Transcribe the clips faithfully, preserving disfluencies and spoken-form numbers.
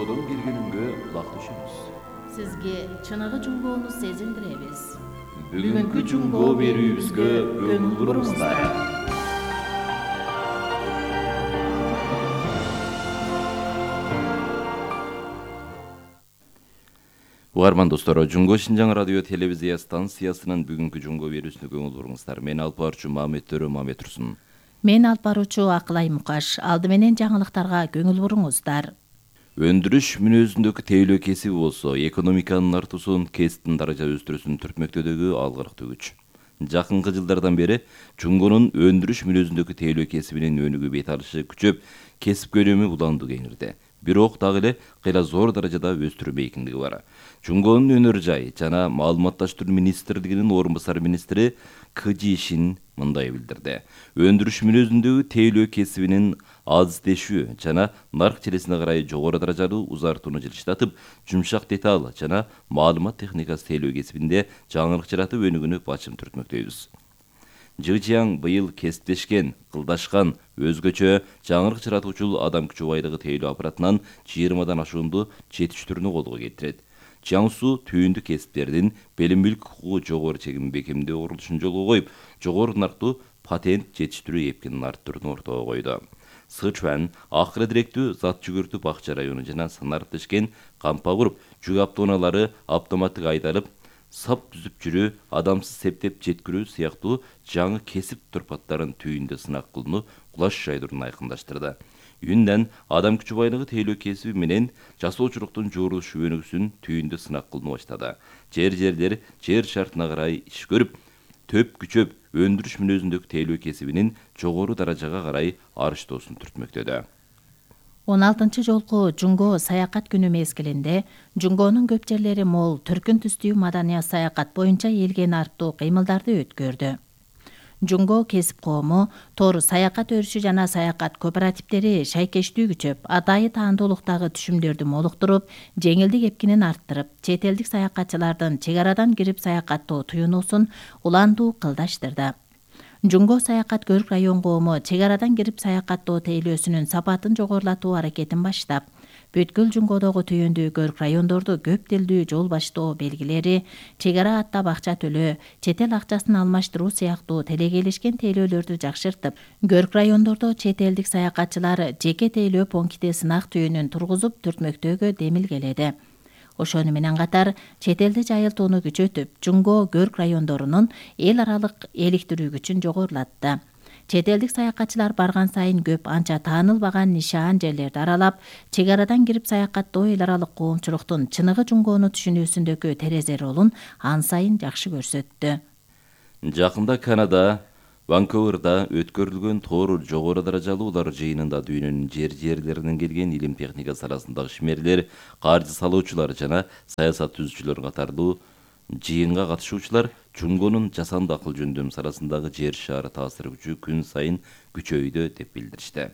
Жунгодон келгениңге кулак түшөбүз. Сизге чыныгы жунгоону сезиндиребиз. Бүгүнкү жунгоо берүүбүзгө көңүл буруңуздар. Угарман достор, Жунгоо Шинжаң радио телевизия станциясынын бүгүнкү жунгоо берүүсүнө көңүл буруңуздар. Мен алып баруучу Мамет Төрө Мамет Турсун. Мен алып баруучу Акылай Мукаш. Алды менен жаңылыктарга көңүл буруңуздар. Өндүрүш мүнөзүндөгү тейлөө кесиби болсо, экономиканын артуусун, кесиптин даража өстүрүүсүн түртмөктөдөгү алгырыктуу күч. Жакынкы жылдардан бери жунгонун өндүрүш мүнөзүндөгү тейлөө кесибинин өнүгүү бет алышы күчөп, кесип көлөмү уланды кеңирди. Бирок дагы эле кыйла зор даражада өстүрүү эркиндиги бар. Жунгонун өнөр жай жана маалыматташтыруу министрлигинин орун басар министри Кыжи Шин мындай билдирди. Өндүрүш мүнөзүндөгү тейлөө кесибинин азиздешүү жана нарк челесине карай жогору даражалуу узартууну жылыштатып, жумшак деталь жана маалымат техникасы тейлөө кесибинде жаңылык жаратып өнүгүүнү бачым түртмөктөйбүз. Жыжияң быйыл кесиптешкен, кылдашкан, өзгөчө жаңылык жаратуучул адам күчү байлыгы тейлөө аппаратынан жыйырмадан ашуунду жетиштирүүнү колго келтирет. Жаңсу түйүндү кесиптердин белим мүлк укугу жогору чегим бекемдөө курулушун жолго коюп, жогору нарктуу патент жетиштирүү эпкинин арттырууну ортого койду. Сычуан акыры директүү зат жүгүртүү бакча району жана санариптешкен кампа куруп, жүк автоунаалары автоматтык айдалып, сап түзүп жүрүү, адамсыз септеп жеткирүү сыяктуу жаңы кесип турпаттарын түйүндө сынак кылууну кулаш жайдыруун айкындаштырды. Үйүндөн адам күчү байлыгы тейлөө кесиби менен жасоочулуктун жуурулуш өнүгүүсүн түйүндө сынак кылууну баштады. Жер жерлер жер шартына карай иш көрүп, төп күчөп, өндүрүш мүнөзүндөгү тейлөө кесибинин жогору даражага карай арыштоосун түртмөктөдү. он алтынчы жолку жунгоо саякат күнү мезгилинде жунгоонун көп жерлери мол түркүн түстүү маданият саякат боюнча элге нарптуу кыймылдарды өткөрдү. Жунгоо кесип коому, тор саякат өрүшү жана саякат кооперативдери шайкештүү күчөп, атайы таандуулуктагы түшүмдөрдү молуктуруп, жеңилдик эпкинин арттырып, чет элдик саякатчылардын чек арадан кирип саякаттоо туюнуусун уландуу кылдаштырды. Жунгоо саякат көрк район коому чек арадан кирип саякаттоо тейлөөсүнүн сапатын жогорулатуу аракетин баштап, бүткүл жунгоодогу түйүндүү көрк райондорду көп тилдүү жол баштоо белгилери, чек ара аттап акча төлөө, чет эл акчасын алмаштыруу сыяктуу телегейлешкен тейлөөлөрдү жакшыртып, көрк райондордо чет элдик саякатчылар жеке тейлөө пункти сынак түйүнүн тургузуп түртмөктөөгө демилгеледи. Ошону менен катар чет элде жайылтууну күчөтүп, жунгоо көрк райондорунун эл аралык эликтирүү күчүн жогорулатты. Чет элдик саякатчылар барган сайын көп анча таанылбаган нишаан жерлерди аралап, чек арадан кирип саякаттоо эл аралык коомчулуктун чыныгы жунгоону түшүнүүсүндөгү терезе ролун ан сайын жакшы көрсөттү. Жакында Канада Ванкуверда өткөрүлгөн тоор жогору даражалуулар жыйынында дүйнөнүн жер жерлеринен келген илим техника саласындагы ишмерлер, каржы салуучулар жана саясат түзүүчүлөр катарлуу жыйынга катышуучулар жунгонун жасанды акыл жөндөм саласындагы жер шаары таасир күчү күн сайын күчөйдү деп билдиришти.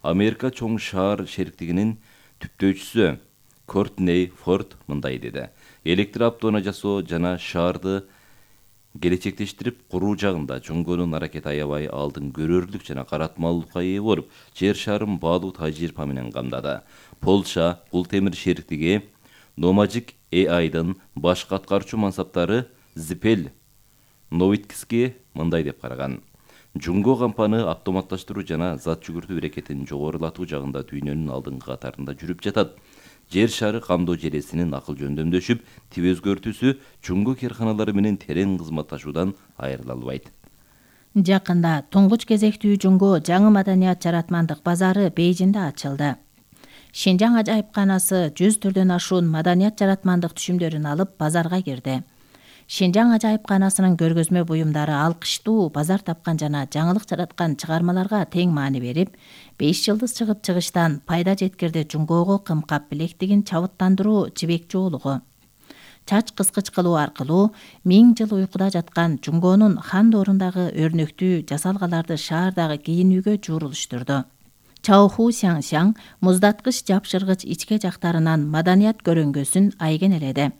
Америка чоң шаар шериктигинин түптөөчүсү Кортней Форд мындай деди. Электр автоунаа жасоо жана шаарды келечектештирип куруу жагында жунгонун аракети аябай алдын көрөрлүк жана каратмалуулукка ээ болуп, жер шарын баалуу тажрыйба менен камдады. Польша Кул темир шериктиги Номажик эй айдын башкы аткаруучу мансаптары Зипел Новиткиски мындай деп караган. Жунгоо кампаны автоматташтыруу жана зат жүгүртүү аракетин жогорулатуу жагында дүйнөнүн алдыңкы катарында жүрүп жатат. Жер шары камдоо желесинин акыл жөндөмдөшүп, тип өзгөртүүсү жунгоо керканалары менен терең кызматташуудан айрыла албайт. Жакында туңгуч кезектүү жунгоо жаңы маданият жаратмандык базары Бейжиңде ачылды. Шинжаң ажайыпканасы жүз түрдөн ашуун маданият жаратмандык түшүмдөрүн алып базарга кирди. Шинжаң ажайыпканасынын көргөзмө буюмдары алкыштуу базар тапкан жана жаңылык жараткан чыгармаларга тең маани берип, беш жылдыз чыгып чыгыштан пайда жеткирди жунгоого кымкап билектигин чабыттандыруу жибек жоолугу. Чач кыскыч кылуу аркылуу миң жыл уйкуда жаткан жунгоонун хан доорундагы өрнөктүү жасалгаларды шаардагы кийинүүгө жуурулуштурду. Чаоху Сяңсяң муздаткыч жапшыргыч ичке жактарынан маданият көрөңгөсүн айгенеледи.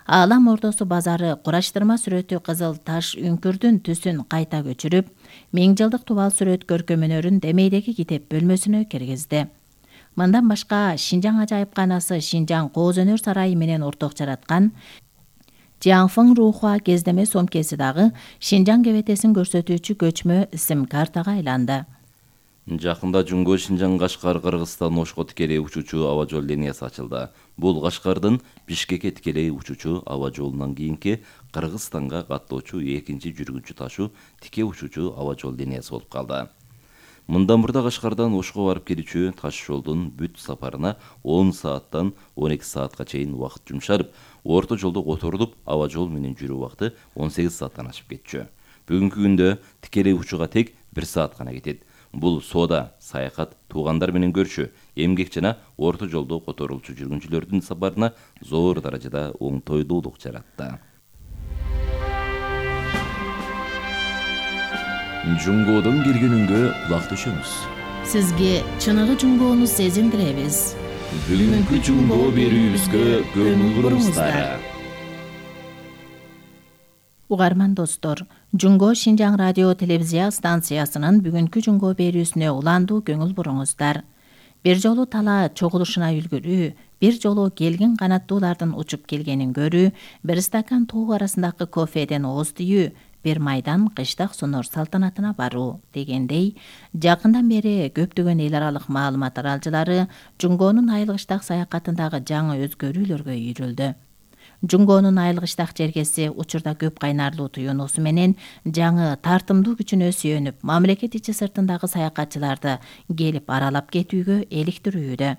Аалам ордосу базары кураштырма сүрөтү кызыл таш үңкүрдүн түсүн кайта көчүрүп, миң жылдык тубал сүрөт көркөмөнөрүн демейдеги китеп бөлмөсүнө киргизди. Мындан башка Шинжаң ажайыпканасы Шинжаң Кооз өнөр сарайы менен орток жараткан Jiangfeng Ruhua кездеме сомкеси дагы Шинжаң кебетесин көрсөтүүчү көчмө сим картага айланды. Жакында Жунго Шинжаң Кашкар Кыргызстан Ошко тикелей учуучу аба жол линиясы ачылды. Бул Кашкардын Бишкекке тикелей учуучу аба жолунан кийинки Кыргызстанга каттоочу экинчи жүргүнчү ташуу тике учуучу аба жол линиясы болуп калды. Мындан мурда Кашкардан Ошко барып келүүчү таш жолдун бүт сапарына он сааттан он эки саатка чейин убакыт жумшалып, орто жолдо которулуп, аба жол менен жүрүү убакыты он сегиз сааттан ашып кетчү. Бүгүнкү күндө тикелей учууга тек бир саат гана кетет. Бул соода, саякат, туугандар менен көрүшүү, эмгек жана орто жолдо которулчу жүргүнчүлөрдүн сапарына зор даражада оңтойлуулук жаратты. Жунгодон келгенүнгө кулак түшөмүз. Сизге чыныгы Жунгоону сезиндиребиз. Бүгүнкү Жунго берүүбүзгө көңүл буруңуздар. Угарман достор, Жунго Шинжаң радио телевизия станциясынын бүгүнкү Жунго берүүсүнө уландуу көңүл буруңуздар. Бир жолу тала чогулушуна үлгүрүү, бир жолу келгин канаттуулардын учуп келгенин көрүү, бир стакан тоо арасындагы кофеден ооз тийүү, бир майдан кыштак сунур салтанатына баруу дегендей, жакындан бери көптөгөн эл аралык маалымат таралчылары Жунгонун айылгыштак саякатындагы жаңы өзгөрүүлөргө үйрүлдү. Жунгонун айылгыштак жергеси учурда көп кайнарлуу туюнуусу менен жаңы тартымдуу күчүнө сүйөнүп, мамлекет ичи сыртындагы саякатчыларды келип аралап кетүүгө эликтирүүдө.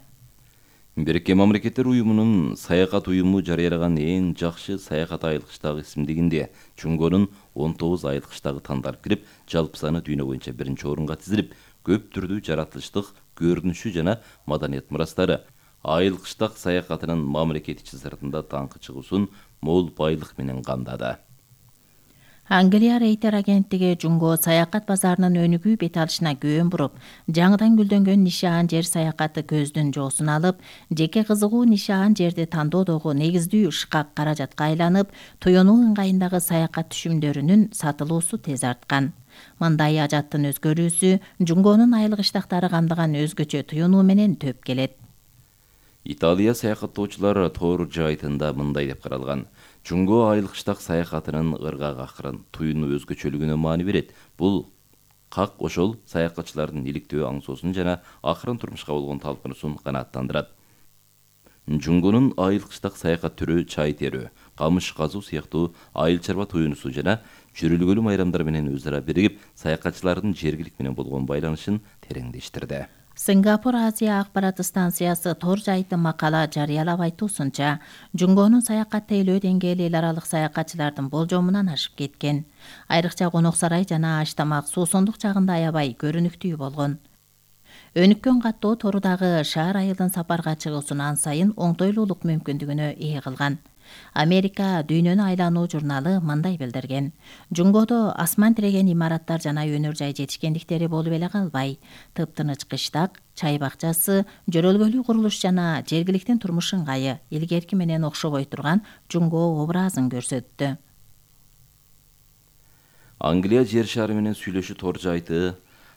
Бириккен Мамлекеттер уюмунун саякат уюму жарыялаган эң жакшы саякат айылгыштагы исимдигинде Жунгонун он тогуз айылгыштагы тандалып кирип, жалпы саны дүйнө боюнча биринчи орунга тизилип, көп түрдүү жаратылыштык көрүнүшү жана маданият мурастары айылгыштак саякатынын мамлекет ичи сыртында таңкы чыгуусун мол байлык менен камдады. Англия Рейтер агенттиги Жунго саякат базарынын өнүгүү бет алышына көөн буруп, жаңыдан гүлдөнгөн нишаан жер саякаты көздүн жоосун алып, жеке кызыгуу нишаан жерди тандоодогу негиздүү шкак каражатка айланып, туюнуу ыңгайындагы саякат түшүмдөрүнүн сатылуусу тез арткан. Мындай ажаттын өзгөрүүсү Жунгонун айылгыштактары камдаган өзгөчө туюнуу менен төп келет. Италия саякаттоочулар Тор жайтында мындай деп каралган. Жунго айылгыштак саякатынын ыргак акырын, туюну өзгөчөлүгүнө маани берет. Бул как ошол саякатчылардын иликтөө аңсоосун жана акырын турмушка болгон талпынуусун канааттандырат. Жунгонун айылгыштак саякат түрү чай терүү, камыш казуу сыяктуу айыл чарба туюнусу жана жүрүлгөлүү майрамдар менен өз ара биригип, саякатчылардын жергилик менен болгон байланышын тереңдештирди. Сингапур Азия акпарат станциясы Тор жайты макала жарыялап айтуусунча, Жунгонун саякат тейлөө деңгээли эл аралык саякатчылардын болжомунан ашып кеткен. Айрыкча конок сарай жана аш тамак суусундук жагында аябай көрүнүктүү болгон. Өнүккөн каттоо Торудагы шаар айылдын сапарга чыгуусун ан сайын оңтойлуулук мүмкүндүгүнө ээ кылган. Америка Дүйнөнү айлануу журналы мындай билдирген. Жунгодо асман тиреген имараттар жана өнөр жай жетишкендиктери болуп эле калбай, тыптыныч кыштак, чай бакчасы, жөрөлгөлүү курулуш жана жергиликтин турмуш ыңгайы илгерки менен окшобой турган Жунго образын көрсөттү. Англия жер шары менен сүйлөшүү Тор жайты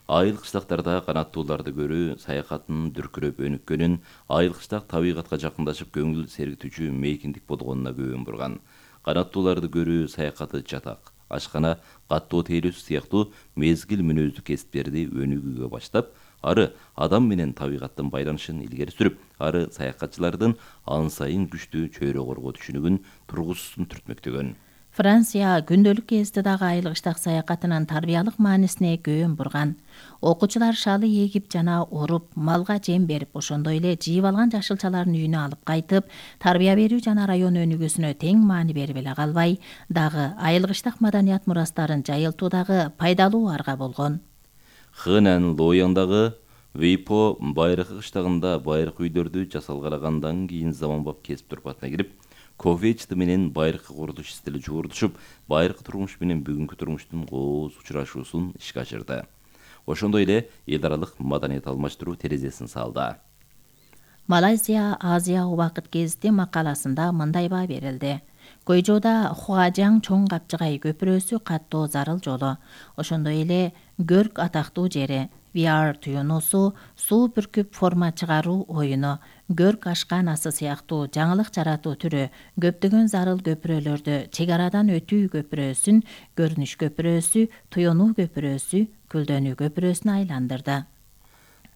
айыл-кыштактарда канаттууларды көрүү саякаттын дүркүрөп өнүккөнүн, айыл-кыштак табигатка жакындашып көңүл сергитүүчү мейкиндик болгонуна көөн бурган. Канаттууларды көрүү саякаты жатак, ашкана, каттоо тейлөөсү сыяктуу мезгил мүнөздүү кесиптерди өнүгүүгө баштап, ары адам менен табигаттын байланышын илгери сүрүп, ары саякатчылардын ан сайын күчтүү чөйрө коргоо түшүнүгүн тургузуусун түртмөктөгөн. Франция күндөлүк КСДдагы айылгыштак саякатынын тарбиялык маанисине көөн бурган. Окуучулар шалы эгип жана оруп, малга жем берип, ошондой эле жыйып алган жашылчаларын үйүнө алып кайтып, тарбия берүү жана район өнүгүүсүнө тең маани берип эле калбай, дагы айылгыштак маданият мурастарын жайылтуудагы пайдалуу арга болгон. Хэнан Лояндагы Вейпо байыркы кыштагында байыркы үйлөрдү жасалгалагандан кийин заманбап кесип турпатына кирип, кофечты менен байыркы курулуш стили жуурдушуп, байыркы турмуш менен бүгүнкү турмуштун кооз учурашуусун ишке ашырды. Ошондой эле эл аралык маданият алмаштыруу терезесин салды. Малайзия Азия убакыт гезити макаласында мындай баа берилди. Көйжоодо Хуажаң чоң капчыгай көпүрөсү каттоо зарыл жолу, ошондой эле көрк атактуу жери, ви ар туюнуусу, суу бүркүп форма чыгаруу оюну, көрк ашкан асы сыяктуу жаңылык жаратуу түрү көптөгөн зарыл көпүрөлөрдү чек арадан өтүү көпүрөсүн көрүнүш көпүрөсү, туюнуу көпүрөсү, күлдөнүү көпүрөсүнө айландырды.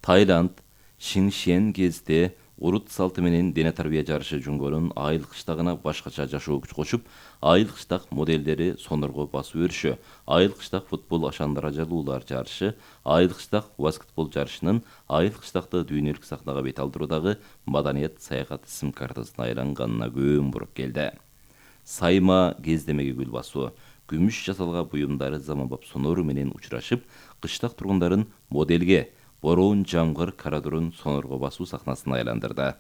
Таиланд Шиншен кезде урут салты менен дене тарбия жарышы Жунгонун айыл кыштагына башкача жашоо күч кошуп, айыл кыштак моделдери сонорго басып өрүшү, айыл кыштак футбол ашан даражалуулар жарышы, айыл кыштак баскетбол жарышынын айыл кыштакты дүйнөлүк сахнага бет алдыруудагы маданият саякат исим картасына айланганына көөн буруп келди. Сайма кездемеги гүл басуу, күмүш жасалган буюмдары заманбап сонору менен учурашып, кыштак тургундарын моделге, бороон жамгыр карадурун сонорго басуу сахнасына айландырды.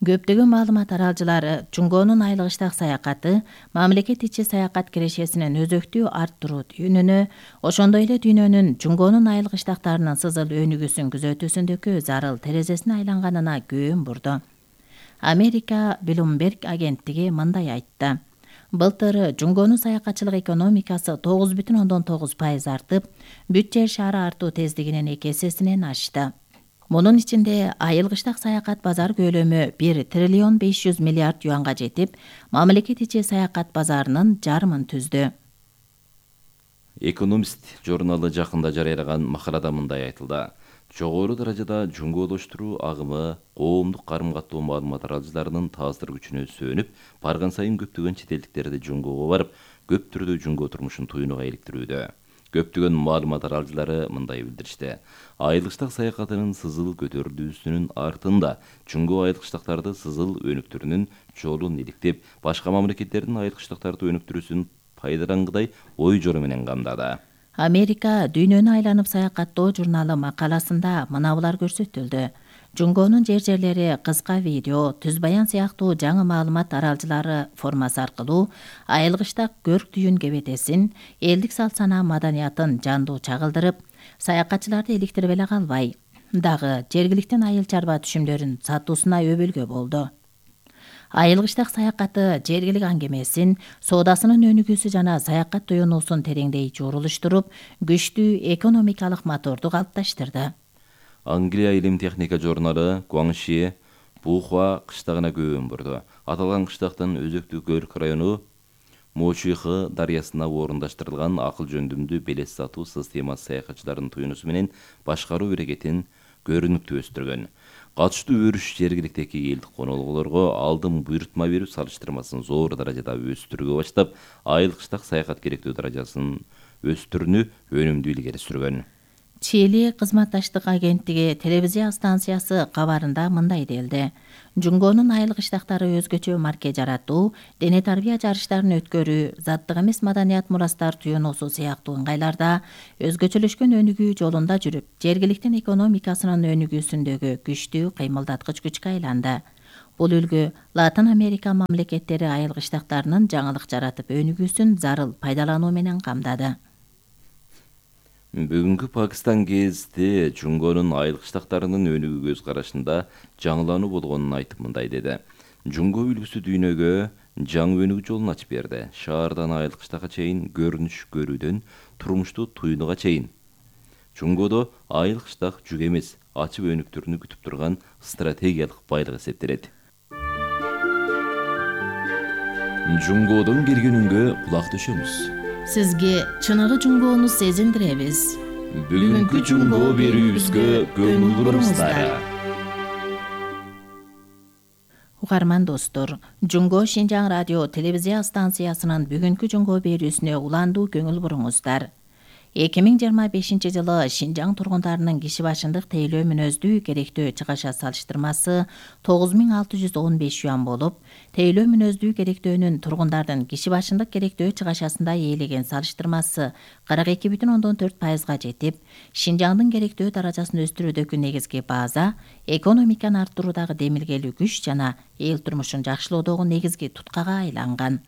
Көптөгөн маалымат аралжылары Жунгонун айыл кыштак саякаты мамлекет ичи саякат кирешесинин өзөктүү арттыруу түйүнүнө, ошондой эле дүйнөнүн Жунгонун айыл кыштактарынын сызыл өнүгүүсүн күзөтүүсүндөгү зарыл терезесине айланганына көөн бурду. Америка Bloomberg агенттиги мындай айтты. Былтыр Жунгонун саякатчылык экономикасы тогуз бүтүн ондон тогуз пайыз артып, бүт жер шаары артуу тездигинин эки эсесинен ашты. Мунун ичинде айыл кыштак саякат базар көлөмү бир триллион беш жүз миллиард юанга жетип, мамлекет ичи саякат базарынын жарымын түздү. Экономист журналы жакында жарыялаган макалада мындай айтылды. Жогору даражада жунгоолоштуруу агымы коомдук карым-каттоо маалымат аралжыларынын таасир күчүнө сүйөнүп, барган сайын көптөгөн чет элдиктерди жунгоого барып, көп түрдүү жунгоо турмушун туюнуга иликтирүүдө. Көптөгөн маалымат аралжылары мындай билдиришти. Айыл кыштак саякатынын сызыл көтөрүлүүсүнүн артында жунгоо айыл кыштактарды сызыл өнүктүрүүнүн жолун иликтеп, башка мамлекеттердин айыл кыштактарды өнүктүрүүсүн пайдалангыдай ой жору менен камдады. Америка дүйнөнү айланып саякаттоо журналы макаласында мынабулар көрсөтүлдү. Жунгонун жер жерлери кыска видео, түз баян сыяктуу жаңы маалымат аралжылары формасы аркылуу айыл кыштак көрк түйүн кебетесин, элдик салт санаа маданиятын жандуу чагылдырып, саякатчыларды иликтирип эле калбай, дагы жергиликтин айыл чарба түшүмдөрүн сатуусуна өбөлгө болду. Айыл кыштак саякаты жергилик аңгемесин, соодасынын өнүгүүсү жана саякат туюнуусун тереңдей журулуштуруп, күчтүү экономикалык моторду калыпташтырды. Англия илим техника журналы Гуаңши Бухуа кыштагына көөн бурду. Аталган кыштактын өзөктүү көрк району Мочихы дарыясына орундаштырылган акыл жөндүмдүү белес сатуу системасы саякатчылардын туюнусу менен башкаруу эрекетин көрүнүктүү өстүргөн. Катыштуу өрүш жергиликтеги элдик конолгулорго алдын буйрутма берүү салыштырмасын зор даражада өстүргө баштап, айыл кыштак саякат керектүү даражасын өстүрүүнү өнүмдүү илгери сүргөн. Чили кызматташтык агенттиги телевизия станциясы кабарында мындай делди. Жунгонун айыл кыштактары өзгөчө марке жаратуу, дене тарбия жарыштарын өткөрүү, заттык эмес маданият мурастар туюнуусу сыяктуу ыңгайларда өзгөчөлөшкөн өнүгүү жолунда жүрүп, жергиликтин экономикасынын өнүгүүсүндөгү күчтүү кыймылдаткыч күчкө айланды. Бул үлгү Латын Америка мамлекеттери айыл кыштактарынын жаңылык жаратып өнүгүүсүн зарыл пайдалануу менен камдады. Бүгүнкү Пакистан кезде Жунгонун айыл кыштактарынын өнүгүү көз карашында жаңылануу болгонун айтып мындай деди. Жунго үлгүсү дүйнөгө жаңы өнүгүү жолун ачып берди. Шаардан айыл кыштакка чейин, көрүнүш көрүүдөн турмушту туюнуга чейин. Жунгодо айыл кыштак жүк эмес, ачып өнүктүрүүнү күтүп турган стратегиялык байлык эсептелет. Жунгодон келген үнгө кулак төшөмүз. Сизге чыныгы жунгоону сезиндиребиз. Бүгүнкү жунгоо берүүбүзгө көңүл буруңуздар. Угарман достор, Жунго Шинжаң радио телевизия станциясынын бүгүнкү жунгоо берүүсүнө уландуу көңүл буруңуздар. эки миң жыйырма бешинчи жылы Шинжаң тургундарынын киши башындык тейлөө мүнөздүү керектөө чыгаша салыштырмасы тогуз миң алты жүз он беш юан болуп, тейлөө мүнөздүү керектөөнүн тургундардын киши башындык керектөө чыгашасында ээлеген салыштырмасы кырк эки бүтүн ондон төрт пайызга жетип, Шинжаңдын керектөө даражасын өстүрүүдөгү негизги база экономиканы арттыруудагы демилгелүү күч жана эл турмушун жакшылоодогу негизги туткага айланган.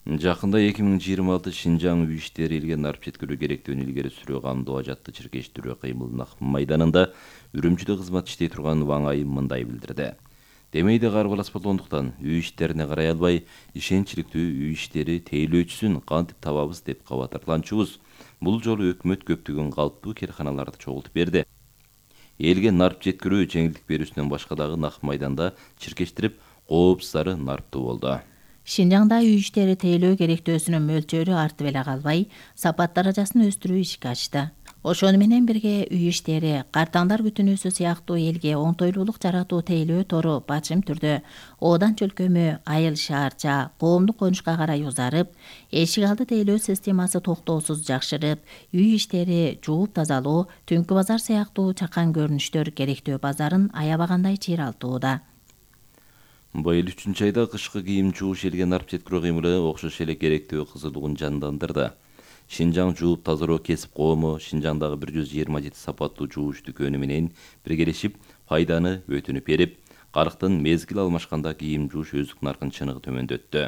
Жакында эки миң жыйырма алты Шинжаң үй иштери илген арып жеткирүү керектөөнү илгери сүрүү камдоо ажатты чиркештирүү кыймылына майданында Үрүмчүдө кызмат иштей турган Ваң Айым мындай билдирди. Демейде карбалас болгондуктан үй иштерине карай албай, ишенчиликтүү үй иштери тейлөөчүсүн кантип табабыз деп кабатырланчубуз. Бул жолу өкмөт көптөгөн калптуу керканаларды чогултуп берди. Элге нарп жеткирүү жеңилдик берүүсүнөн башка дагы нак майданда чиркештирип, коопсуздары нарптуу болду. Шинжаңда үй иштери тейлөө керектөөсүнүн мөлчөрү артып эле калбай, сапат даражасын өстүрүү ишке ачты. Ошону менен бирге үй иштери, картаңдар күтүнүүсү сыяктуу элге оңтойлуулук жаратуу тейлөө тору бачым түрдө Оодан чөлкөмү, Айыл шаарча, коомдук конушка карай узарып, эшик алды тейлөө системасы токтоосуз жакшырып, үй иштери, жууп тазалоо, түнкү базар сыяктуу чакан көрүнүштөр керектөө базарын аябагандай чыйралтууда. Быйыл үчүнчү айда кышкы кийим жууш элге нарп жеткирүү кыймылы окшош эле керектөө кызылдыгын жандандырды. Шинжаң жууп тазалоо кесип коому Шинжаңдагы бир жүз жыйырма жети сапаттуу жууш дүкөнү менен биргелешип пайданы өтүнүп берип, карыктын мезгил алмашканда кийим жууш өздүк наркын чыныгы төмөндөттү.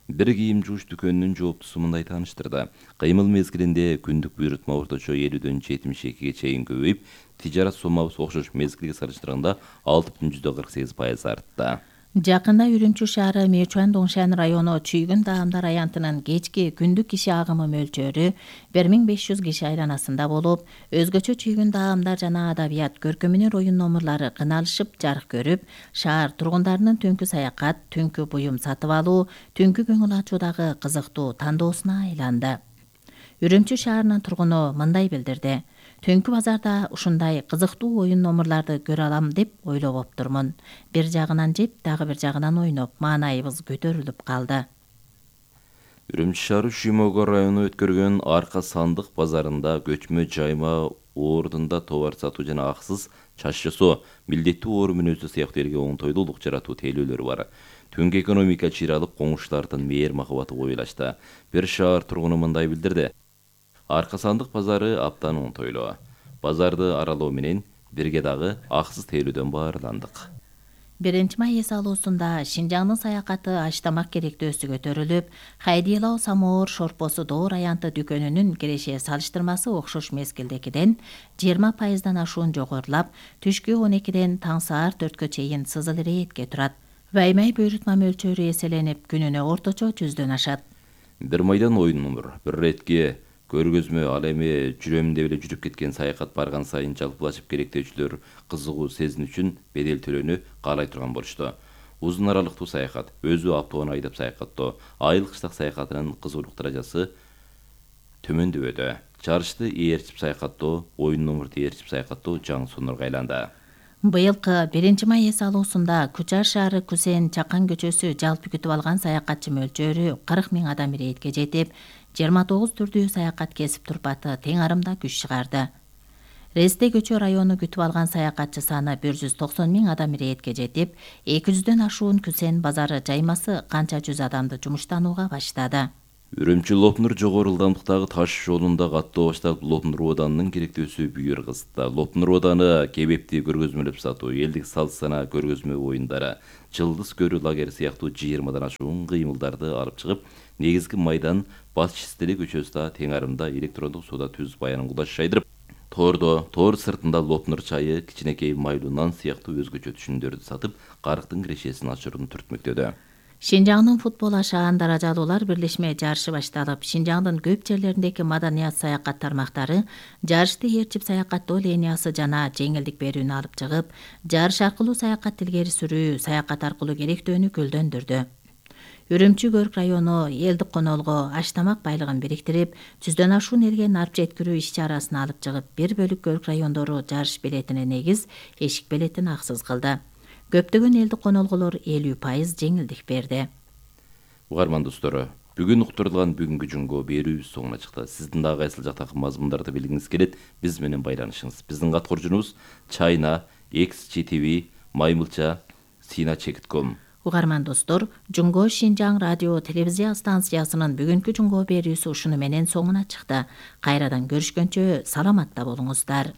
Бир кийим жууш дүкөнүнүн жооптусу мындай тааныштырды. Кыймыл мезгилинде күндүк буйрутма орточо элүүдөн жетимиш экиге чейин көбөйүп, тижарат соммабыз окшош мезгилге салыштырганда алты бүтүн жүздөн кырк сегиз пайыз артты. Жакында Үрүмчү шаары Мечуан-Доңшан району Чүйгүн даамдар аянтынын кечки күндүк киши агымы мөлчөрү бир миң беш жүз киши айланасында болуп, өзгөчө Чүйгүн даамдар жана адабият көркөмүнөр оюн номурлары кыналышып жарык көрүп, шаар тургундарынын түнкү саякат, түнкү буюм сатып алуу, түнкү көңүл ачуудагы кызыктуу тандоосуна айланды. Үрүмчү шаарынын тургуну мындай билдирди: Түнкү базарда ушундай кызыктуу оюн номурларды көрө алам деп ойлоп-оптурмун. Бир жагынан жеп, дагы бир жагынан ойноп, маанайыбыз көтөрүлүп калды. Үрүмчү шаары Шүймөгө району өткөргөн Арка сандык базарында көчмө жайма ордунда товар сатуу жана аксыз чач жасоо, милдеттүү оору мүнөздүү сыяктуу элге оңтойлуулук жаратуу тейлөөлөрү бар. Түнкү экономика чыйралып, коңшулардын мээр махабаты коюлашты. Бир шаар тургуну мындай билдирди: Арка сандык базары аптан оңтойлуу. Базарды аралоо менен бирге дагы аксыз тейлөөдөн баарландык. биринчи май эс алуусунда Шинжаңдын саякаты аштамак керектөөсү көтөрүлүп, Хайдилау самоор шорпосу Доор аянты дүкөнүнүн киреше салыштырмасы окшош мезгилдегиден жыйырма пайыздан ашуун жогорулап, түшкү он экиден таң саат төрткө чейин сызыл иретке турат. Ваймай буйрутма мөлчөрү эселенип, күнүнө орточо жүздөн ашат. Бир майдан оюн номур, бир иретке көргөзмө, ал эми жүрөм деп эле жүрүп кеткен саякат барган сайын жалпылашып керектөөчүлөр кызыгуу сезин үчүн бедел төлөөнү каалай турган болушту. Узун аралыктуу саякат, өзү автоунаа айдап саякаттоо, айыл кыштак саякатынын кызуулук даражасы төмөндөбөдө. Чарышты ээрчип саякаттоо, оюн номурду ээрчип саякаттоо жаңы сонорго айланды. Быйылкы биринчи май эс алуусунда Кучар шаары Кусен Чакан көчөсү жалпы күтүп алган саякатчы мөлчөрү кырк миң адам иретке жетип, жыйырма тогуз түрдүү саякат кесип турпаты тең арымда күч чыгарды. Ресте көчө району күтүп алган саякатчы саны бир жүз токсон миң адам иретке жетип, эки жүздөн ашуун Кусен базары жаймасы канча жүз адамды жумуштанууга баштады. Үрүмчү Лопнур жогору ылдамдыктагы таш жолунда каттоо башталып, Лопнур оданынын керектөөсү бүйүр кызды. Лопнур оданы кебепти көргөзмөлөп сатуу, элдик салт сана көргөзмө оюндары, жылдыз көрүү лагери сыяктуу жыйырмадан ашуун кыймылдарды алып чыгып, негизги майдан Бас Чистели көчөсүндө тең арымда электрондук соода түз баянын кулаш жайдырып, тордо, тор сыртында Лопнур чайы, кичинекей майлуу нан сыяктуу өзгөчө түшүмдөрдү сатып, карыктын кирешесин ачырууну түртмөктөдө. Шинжаңдын футбол ашаан даражалуулар бирлешме жарышы башталып, Шинжаңдын көп жерлериндеги маданият саякат тармактары жарышты ээрчип саякаттоо линиясы жана жеңилдик берүүнү алып чыгып, жарыш аркылуу саякат илгери сүрүү, саякат аркылуу керектөөнү гүлдөндүрдү. Үрүмчү Көрк району элдик конолго аштамак байлыгын бириктирип, жүздөн ашуун элге нарп жеткирүү иш-чарасын алып чыгып, бир бөлүк Көрк райондору жарыш билетине негиз, эшик билетин аксыз кылды. Көптөгөн элдик конолголор элүү пайыз жеңилдик берди. Угарман достору, бүгүн уктурулган бүгүнкү жунго берүүбүз соңуна чыкты. Сиздин дагы кайсыл жактагы мазмундарды билгиңиз келет, биз менен байланышыңыз. Биздин каткоржунубуз Чайна, экс джи ти ви, Маймылча, Сина чекит ком. Угарман достор, Жунго Шинжаң радио телевизия станциясынын бүгүнкү жунго берүүсү ушуну менен соңуна чыкты. Кайрадан көрүшкөнчө саламатта болуңуздар.